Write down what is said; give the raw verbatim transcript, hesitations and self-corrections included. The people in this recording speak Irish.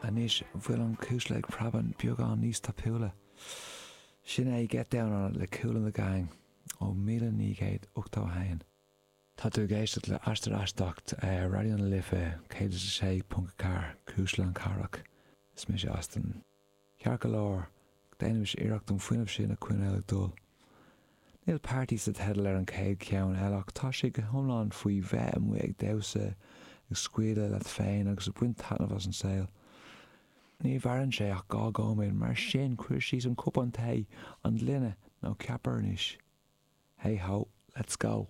Anois bhfuil an cuisle ag preabadh beagán níos tapúla. Sin é Get Down on It le Kool and the Gang ó míle naoi gcéad ochtó a haon. Tá tú ag éisteacht le Aistear Aisteach ar Raidió na Life céad is a sé ponc a ceathair, Cuisle na Cathrach. Is mise Austin. Ceart go leor, déanaimis iarracht an fuinneamh sin a choinneáil ag dul. Níl party sa teideal ar an chéad cheann eile ach tá sé go hiomlán faoi bheith amuigh ag damhsa, ag scaoileadh leat féin agus ag baint taitneamh as an saol. Ní mhaireann sé ach dhá nóiméad, mar sin cuir síos an cupán tae, an gloine nó ceapaire anois. Hey ho, let's go.